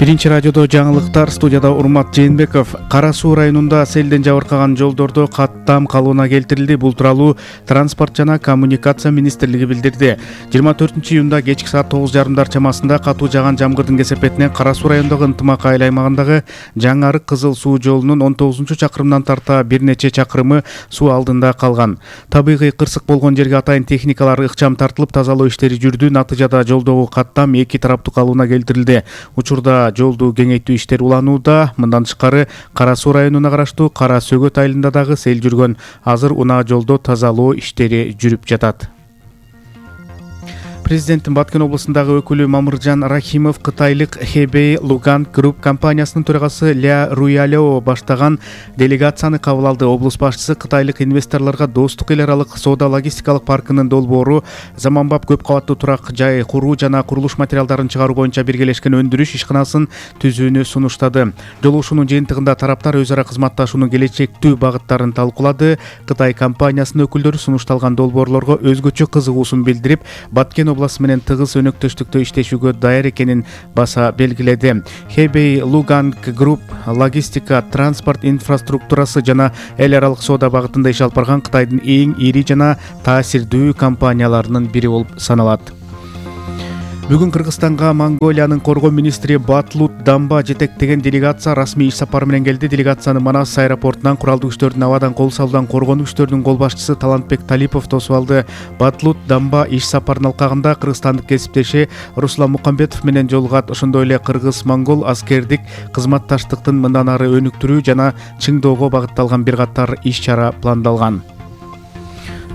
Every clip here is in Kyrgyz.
Биринчи радиодо жаңылыктар, студияда Урмат Жээнбеков. Кара Суу районунда селден жабыркаган жолдордо каттам калыбына келтирилди. Бул тууралуу Транспорт жана коммуникация министрлиги билдирди. 24-июнда кечки саат 9:30 чамасында катуу жааган жамгырдын кесепетинен Кара Суу районундагы Ынтымак айыл аймагындагы Жаңы Арык Кызыл суу жолунун 19-чакырымынан тарта бир нече чакырымы суу алдында калган. Табигый кырсык болгон жерге атайын техникалар ыкчам тартылып тазалоо иштери жүрдү. Натыйжада жолдогу каттам эки тараптуу калыбына келтирилди. Учурда жолду кеңейтүү иштери уланууда. Мындан тышкары Кара Суу районуна караштуу Кара Сөгөт айылында дагы сел жүргөн. Азыр унаа жолдо тазалоо иштери жүрүп жатат. Президенттин Баткен облусундагы өкүлү Мамыржан Рахимов кытайлык Hebei Lugan Group компаниясынын төрагасы Ля Руялео баштаган делегацияны кабыл алды. Облус башчысы кытайлык инвесторлорго достук эл аралык соода логистикалык паркынын долбоору, заманбап көп кабаттуу турак жай куруу жана курулуш материалдарын чыгаруу боюнча биргелешкен өндүрүш ишканасын түзүүнү сунуштады. Жолугушуунун жыйынтыгында тараптар өз ара кызматташуунун келечектүү багыттарын талкуулады. Кытай компаниясынын өкүлдөрү сунушталган долбоорлорго өзгөчө кызыгуусун билдирип, Баткен обласу менен тыгыз өнөктөштүктө иштешүүгө даяр экенин баса белгиледи. Hebei Lugan Group логистика, транспорт инфраструктурасы жана эл аралык соода багытында иш алып барган Кытайдын эң ири жана таасирдүү компанияларынын бири болуп саналат. Бүгүн Кыргызстанга Монголиянын коргоо министри Батлут Дамба жетектеген делегация расмий иш сапары менен келди. Делегацияны Манас аэропортунан куралдуу күчтөрдүн абадан кол салуудан коргонуу күчтөрүнүн кол башчысы Талантбек Талипов тосуп алды. Батлут Дамба иш сапарын алкагында кыргызстандык кесиптеши Руслан Мукамбетов менен жолугат. Ошондой эле кыргыз-монгол аскердик кызматташтыктын мындан ары өнүктүрүү жана чыңдоого багытталган бир катар иш-чара пландалган.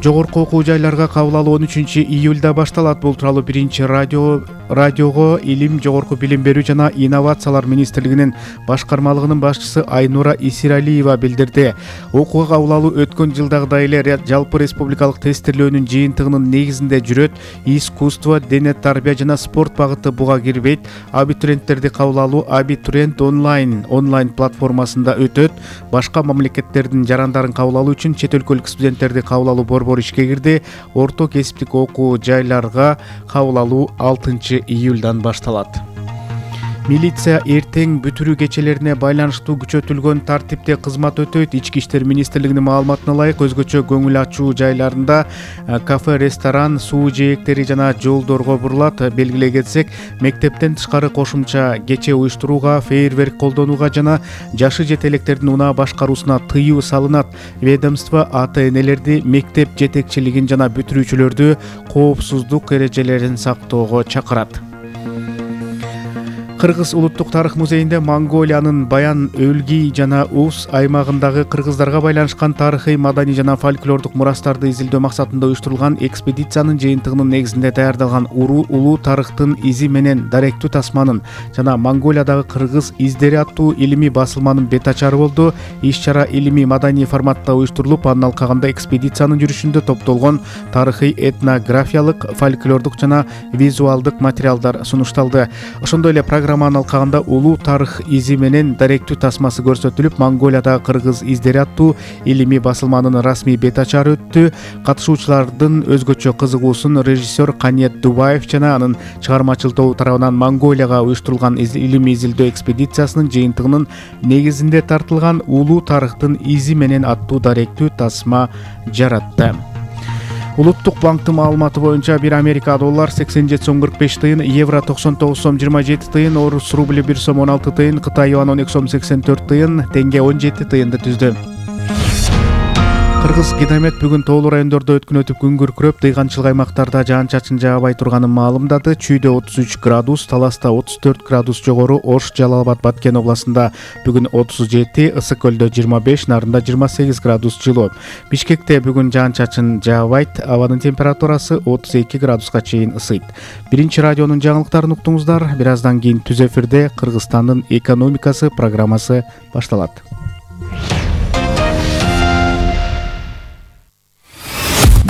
Жогорку окуу жайларга кабыл алуу 13-июлда башталат. Бул тууралуу биринчи радиого Илим, жогорку билим берүү жана инновациялар министрлигинин башкармалыгынын башчысы Айнура Исиралиева билдирди. Окууга кабыл алуу өткөн жылдагыдай эле жалпы республикалык тестирлөөнүн жыйынтыгынын негизинде жүрөт. Искусство, дене тарбия жана спорт багыты буга кирбейт. Абитуриенттерди кабыл алуу Абитуриент онлайн платформасында өтөт. Башка мамлекеттердин жарандарын кабыл алуу үчүн чет өлкөлүк студенттерди кабыл алуу борбору ишке кирди. Орто кесиптик окуу жайларга кабыл алуу 6-июлдан башталат. Милиция эртең бүтүрүү кечелерине байланыштуу күчөтүлгөн тартипте кызмат өтөйт. Ички иштер министрлигинин маалыматына ылайык, өзгөчө көңүл ачуу жайларында кафе, ресторан, суу жээктери жана жолдорго бурулат. Белгилей кетсек, мектептен тышкары кошумча кече уюштурууга, фейерверк колдонууга жана жашы жете электердин унаа башкаруусуна тыюу салынат. Ведомство ата-энелерди, мектеп жетекчилигин жана бүтүрүүчүлөрдү коопсуздук эрежелерин сактоого чакырат. Кыргыз улуттук тарых музейинде Монголиянын Баян, Өлгий жана Уус аймагындагы кыргыздарга байланышкан тарыхый, маданий жана фольклордук мурастарды изилдөө максатында уюштурулган экспедициянын жыйынтыгынын негизинде даярдалган улуу тарыхтын изи менен даректүү тасманын жана Монголиядагы кыргыз издери аттуу илимий басылманын бет ачары болду. Иш-чара илимий маданий форматта уюштурулуп, анын алкагында экспедициянын жүрүшүндө топтолгон тарыхый, этнографиялык, фольклордук жана визуалдык материалдар сунушталды. Ошондой эле программанын алкагында улуу тарых изи менен даректүү тасмасы көрсөтүлүп, Монголиядагы кыргыз издери аттуу илимий басылманын расмий бет ачары өттү. Катышуучулардын өзгөчө кызыгуусун режиссер Каниет Дубаев жана анын чыгармачыл тобу тарабынан Монголияга уюштурулган илимий изилдөө экспедициясынын жыйынтыгынын негизинде тартылган улуу тарыхтын изи менен аттуу даректүү тасма жаратты. Улуттук банктын маалыматы боюнча бир Америка доллар 87 сом 45 тыйын, евро 99 сом 27 тыйын, орус рубли 1 сом 16 тыйын, Кытай юан 12 сом 84 тыйын, тенге 17 тыйынды түздү. Кыргыз Гидромет бүгүн тоолуу райондордо өткүнөтүп күн күркүрөп, дыйганчылык аймактарда жаан-чачын жаабай турганын маалымдады. Чүйдө 33 градус, Таласта 34 градус жогору, Ош, Жалал Абад, Баткен областында бүгүн 37, Ысык көлдө 25, Нарында 28 градус жылуу. Бишкекте бүгүн жаан-чачын жаабайт, абанын температурасы 32 градуска чейин ысыйт. Биринчи радионун жаңылыктарын уктуңуздар. Бир аздан кийин түз эфирде Кыргызстандын экономикасы программасы башталат.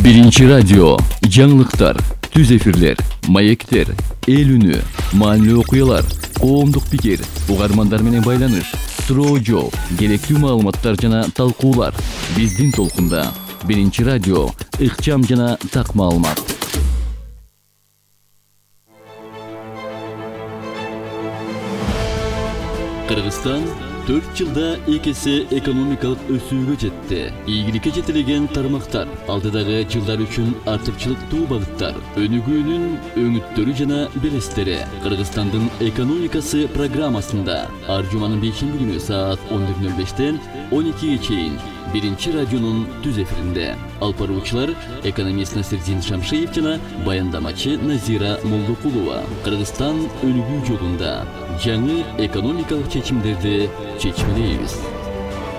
Биринчи радио, жаңылыктар, түз эфирлер, маектер, эл үнү, маанилүү окуялар, коомдук пикир, угармандар менен байланыш, суроо жооп, керектүү маалыматтар жана талкуулар. Биздин толкунда. Биринчи радио, ыкчам жана так маалымат. Кыргызстан 4 жылда 2 эсе экономикалык өсүүгө жетти. Ийгиликке жетилген тармактар, алдыдагы жылдар үчүн артыкчылыктуу багыттар, өнүгүүнүн өңүттөрү жана белестери. Кыргызстандын экономикасы программасында ар жуманын 5-ши күнү саат 14:05-тен 12-ге чейин Биринчи радионун түз эфиринде. Алып баруучулар экономист Насирдин Шамшиев жана баяндамачы Назира Молдокулова. Кыргызстан өнүгүү жолунда жаңы экономикалык чечимдерди чечмелейбиз.